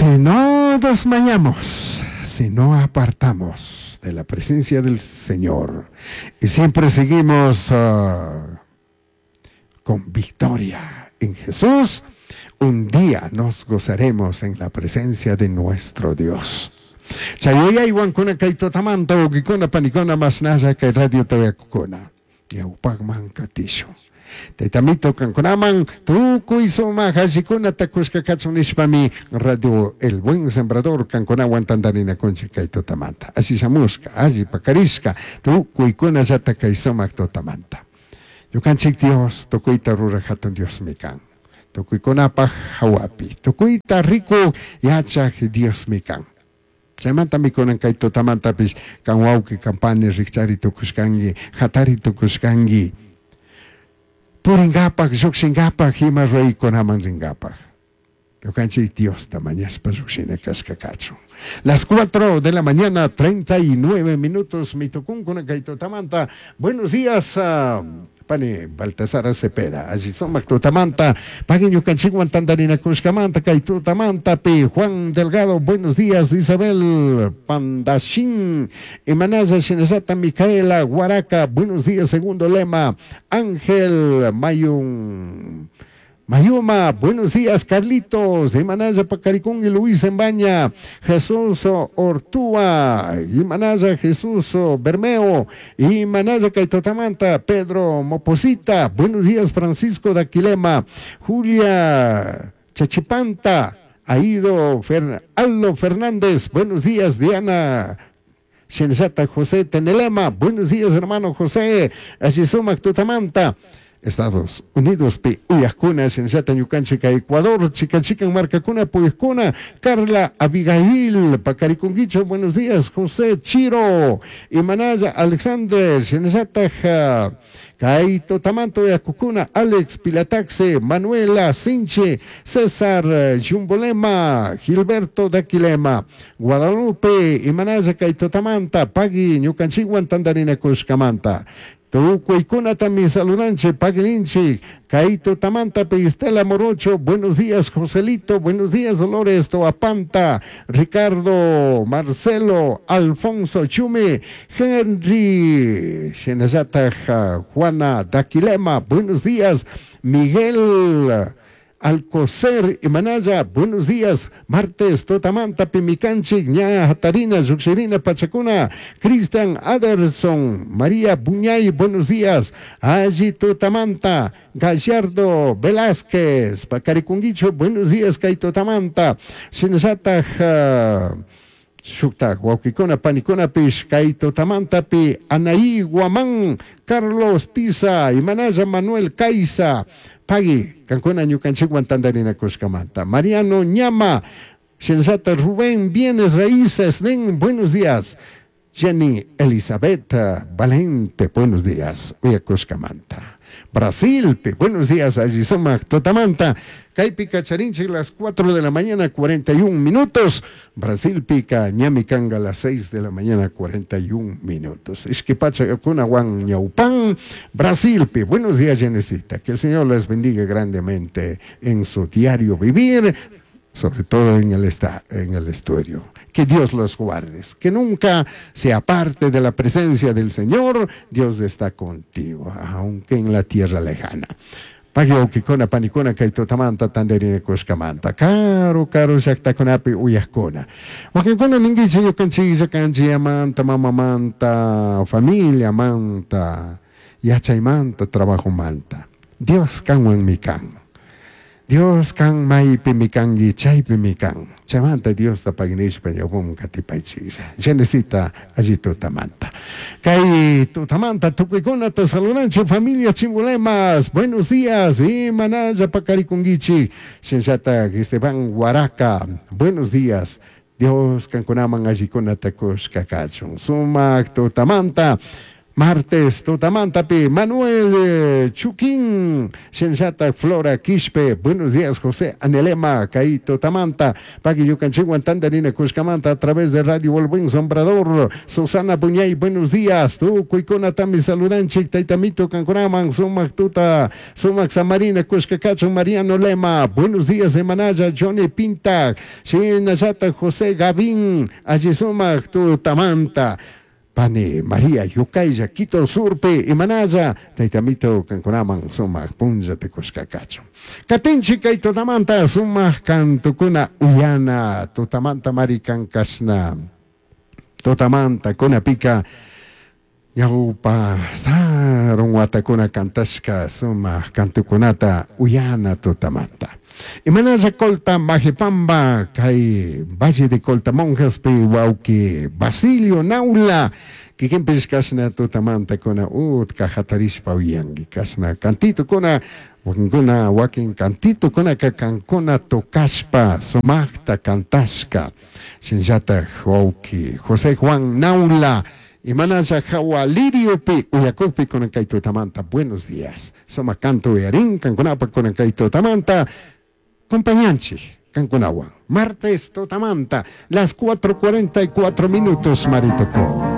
Si no desmayamos, si no apartamos de la presencia del Señor y siempre seguimos con victoria en Jesús, un día nos gozaremos en la presencia de nuestro Dios. Chay yuyaywankuna kay tutamanta wawkikuna panikuna mashnalla kay radiota uyakukuna ñawpakman katishun. Taytamito kankunaman tukuy sumak allikunata kushka kachun nishpami Radio El Buen Sembrador kankunawan tantarinakunchik kay tutamanta. Alli shamushka, alli pakarishka, tukuykunallata kay sumak tutamanta. Ñukanchik Dios tukuyta ruraj hatun Diosmi kan. Tukuykunapaj hawapi, tukuyta rikuk yachaj Diosmi kan. Chaymantami kunan kay tutamantapish kan wawqi kan pani rikchari tukushkanki, hatari tukushkanki. Purinkapak, llukshinkapak, ima ruraykunaman rinkapak. Ñukanchik Diosta mañashpa llukshina kashka kachun. Las 4 de la mañana, 39 minutos, mitukunkuna kay tutamanta. Buenos días, pani Baltasar Cepeda. Alli sumak tutamanta. Pagui ñukanchikwan tantarinakushkamanta kay tutamantapi. Juan Delgado, buenos días. Isabel Pandashin. Imanalla shinallata Micaela Guaraca, buenos días. Segundo lema. Ángel Mayun. Mayuma, buenos días, Carlitos, Imanaya Pacaricún y Luis Embaña, Jesús Ortúa, Imanaya Jesús Bermeo, Imanaya Caitotamanta, Pedro Moposita, buenos días, Francisco Daquilema, Julia Chachipanta, Aido Aldo Fernández, buenos días, Diana Shinallata José Tenelema, buenos días, hermano José, Ashisumac Tutamanta. Estados Unidos pi uyajkuna shinallata ñukanchik Ecuador chikan chikan markakuna puyajkuna Carla Abigail pakarikunkichu buenos días José Chiro Imanaya Alexander shinallataj kay tutamanta uyakukuna Alex Pilataxe Manuela Sinche César Yumbolema Gilberto Daquilema Guadalupe Imanaya kay tutamanta pagui ñukanchikwan tantarinakushkamanta Tukuykunatami saludanchik, paguinchik, kay tutamanta Estela Morocho, buenos días Joselito, buenos días Dolores Toapanta, Ricardo, Marcelo, Alfonso Chume, Henry, Shinallata Juana Daquilema, buenos días Miguel Alcocer Imanaya, buenos días, martes, Totamanta, Pimicanchik, Ña, Hatarina, Yuxirina, Pachacuna, Cristian Aderson, María Buñay, buenos días, Allí Totamanta, Gallardo Velázquez, Pacaricunguicho, buenos días, Kay Totamanta, Shinallata, Shuktak, wawkikuna, panikunapish, kay tutamantapi, Anaí Guamán, Carlos Pisa, Imanaya Manuel Caiza, Pagui, kankuna ñukanchikwan tantarinakushkamanta, Mariano Ñama, Shinallata Rubén Bienes Raíces, Nen, buenos días. Jenny Elizabeth Valente, buenos días. Uyakushkamanta. Brasil, buenos días, allí sumak tutamanta. Kaypi kacharinchik las 4 de la mañana, 41 minutos. Brasil pica, ñami kanga las 6 de la mañana, 41 minutos. Ishki pachakunawan ñawpan. Brasil, pi, buenos días, Jenesita. Que el Señor les bendiga grandemente en su diario vivir, sobre todo en el estudio. Que Dios los guarde, que nunca se aparte de la presencia del Señor. Dios está contigo, aunque en la tierra lejana. Pagui wawkikuna panikuna kay tutamanta tantarinakushkamanta. Karu karu llaktakunapi uyajkuna. Wakinkuna ninkichik ñukanchiklla kanchiyamanta, mamamanta, familiamanta, yachaymanta, trabajomanta. Dios kanwanmi kan. Dios kan maypimi kanki, chaypimi kan. Chaymanta Diosta paginishpa ñawpaman katipaychiklla. Genesita alli tutamanta. Kay tutamanta tukuykunata saludanchik familia Chimbulemas. Buenos días. Imanalla pakarikunkichik. Shinallata Esteban Guaraca. Buenos días. Dios kankunaman allikunata kushka kachun. Sumak tutamanta. Martes tutamantapi Manuel Chuquín, shinallata Flora Quispe, buenos días José Anelema, kay tutamanta, pagui ñukanchikwan tandarinakushkamanta a través de Radio El Buen Sombrador, Susana Buñay, buenos días, tukuykunatami saludanchik, taytamito kankunaman, sumak tuta, sumak samarina kushka kachun, Mariano Lema, buenos días semanalla, Johnny Pinta, shinallata José Gavín, alli sumak tutamanta, Pani María Yukaylla, Quito Surpe, Imanalla, Taytamito kankunaman sumak punllata kushka kachun. Katinchik kay tutamanta sumak kantukuna uyana, tutamanta mari kankashna, tutamanta kunapika ñawpa sarun watakuna kantashka sumak kantukunata uyana tutamanta. Imanalla Colta Majepamba, kay Valle de Colta Monjaspi wawki Basilio Naula, kikinpish kashna tutamanta kuna utka hatarishpa uyanki kashna kantitukuna wakinkuna wakin kantitukunaka kankuna tocashpa sumakta kantashka shinallatak wawki José Juan Naula, imanalla hawa liriopi uyakukpi kunan kay tutamanta buenos días sumak kantu uyarin kankunapa kunan kay tutamanta compañanchik kankunawan martes tutamanta las 4:44 minutos maritoko.